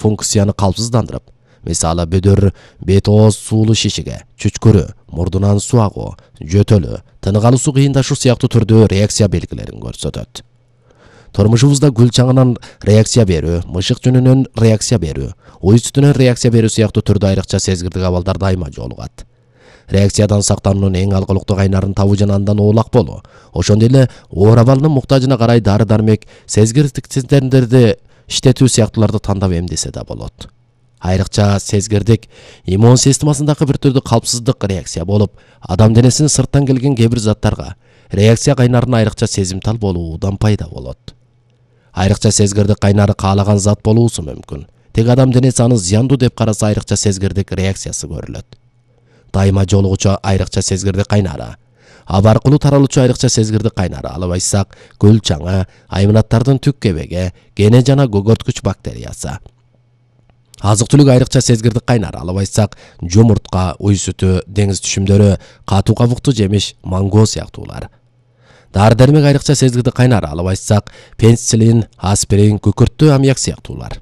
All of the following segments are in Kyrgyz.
функцияны калпсыздандырып, мисалы бөдөр бет ооз суулуу шишиге, чүчкүрү, мурдунан суу агуу, жөтөлү, тынык алуусу кыйындашуу сыяктуу түрдүү реакция белгилерин көрсөтөт. Турмушубузда гүл чаңынан реакция берүү, мышык жөнүнөн реакция берүү, уй сүтүнөн реакция берүү сыяктуу түрдө айрыкча сезгирдик абалдар дайыма жолугат. Реакциядан сактануунун эң алгылыктуу кайнарын табуу жана андан оолак болуу. Ошондой эле оор абалынын муктажына карай дары-дармек, сезгирдик системдерди иштетүү сыяктууларды тандап эмдесе да болот. Айрыкча сезгирдик иммун системасындагы бир түрдүү калпсыздык реакция болуп, адам денесинин сырттан келген кээ бир заттарга реакция кайнарын айрыкча сезимтал болуудан пайда болот. Айрыкча сезгирдик кайнары каалаган зат болуусу мүмкүн. Тек адам денеси аны зыяндуу деп караса айрыкча сезгирдик реакциясы көрүлөт. Дайыма жолугучу айрыкча сезгирдик кайнары. Аба аркылуу таралуучу айрыкча сезгирдик кайнары алып айтсак, гүл чаңы, айманаттардын түк кебеги, гене жана көгөрткүч бактериясы. Азык-түлүк айрыкча сезгирдик кайнары алып айтсак, жумуртка, уй сүтү, деңиз түшүмдөрү, катуу кабыктуу жемиш, манго сыяктуулар. Дары-дармек айрыкча сезгирдик кайнары алып айтсак, пенициллин, аспирин, күкүрттүү аммиак сыяктуулар.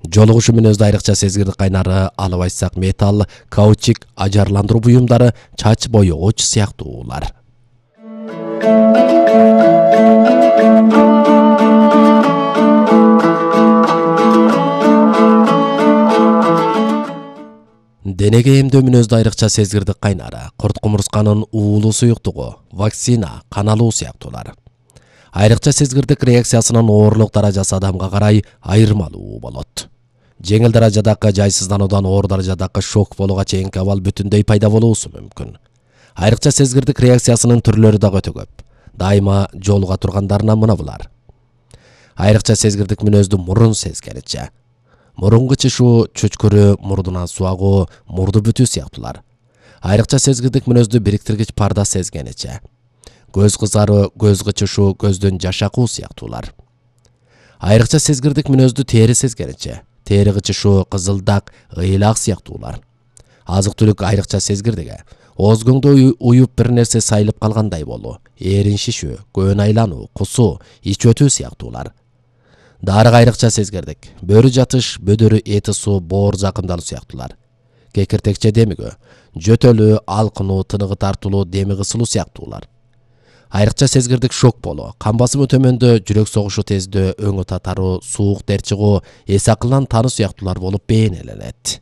Жолугушу мүнөздө айрыкча сезгирдик кайнары алып айтсак, металл, каучук, ажарландыруу буюмдары, чач боёгуч сыяктуулар. Денеге эмдөө мүнөздө айрыкча сезгирдик кайнары, курт кумурсканын уулуу суюктугу, вакцина, кан алуу сыяктуулар. Айрыкча сезгирдик реакциясынын оорлук даражасы адамга карай айырмалуу болот. Жеңил даражадагы жайсыздануудан оор даражадагы шок болууга чейинки абал бүтүндөй пайда болуусу мүмкүн. Айрыкча сезгирдик реакциясынын түрлөрү дагы өтө көп. Дайыма жолуга тургандарынан мына булар. Айрыкча сезгирдик мүнөздүү мурун сезгеничи. Мурун кычышуу, чүчкүрү, мурдунан суу агуу, мурду бүтүү сыяктуулар. Айрыкча сезгирдик мүнөздүү бириктиргич парда сезгеничи. Көз кызаруу, көз кычышуу, көздөн жаш акуу сыяктуулар. Айрыкча сезгирдик мүнөздүү тери сезгеничи. Тери кычышуу, кызылдак, ыйлак сыяктуулар. Азык-түлүк айрыкча сезгирдиги. Оозгоңдо уюп бир нерсе сайылып калгандай болуу, эрин шишүү, көөн айлануу, кусуу, ич өтүү сыяктуулар. Дарыга айрыкча сезгирдик. Бөрү жатыш, бөдөрү эти суу, боор жакындалуу сыяктуулар. Кекиртекче демигүү, жөтөлүү, алкынуу, тыныгы тартылуу, деми кысылуу сыяктуулар. Айрыкча сезгирдик шок болуу, кан басымы төмөндөө, жүрөк согушу тездөө, өңү татаруу, суук тер чыгуу, эс акылдан тануу сыяктуулар болуп бейнеленет.